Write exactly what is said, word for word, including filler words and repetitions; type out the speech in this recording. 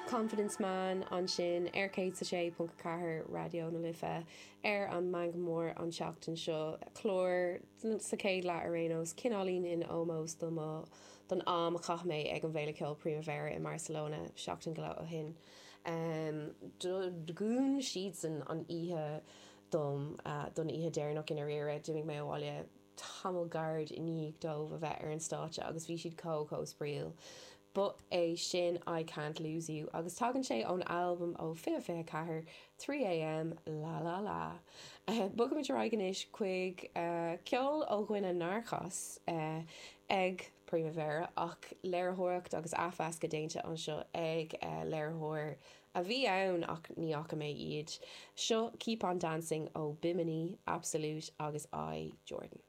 Confidence Man ansin ar céad a sé ponc a ceathair Raidió na Life ar an Meangadh Mór an tseachtain seo clár sa chéad leath ar aon nós cineáilín in ómós do mo don am a chaith mé ag an bhFéile Ceoil Primavera i mBarcelona seachtain go leith ó shin. Dhún siadsan an oíche dom don oíche deireanach i ndáiríre d'imigh mé abhaile tamall gairid i ndiaidh dóibh a bheith ar an stáitse agus bhí siad chomh chomh spraíúil. Ba é sin I Can't Lose You agus tagann sé ón albam ó fiche fiche ceathair three AM La La La. Bogaimid ar aghaidh anois chuig ceol ó dhuine nár chas ag Primavera ach léiritheoireacht agus athmheascadh déanta anseo ag léiritheoir a bhí ann ach ní fhaca mé iad. Seo Keep On Dancing ó Bimini, Absolute agus I Jordan.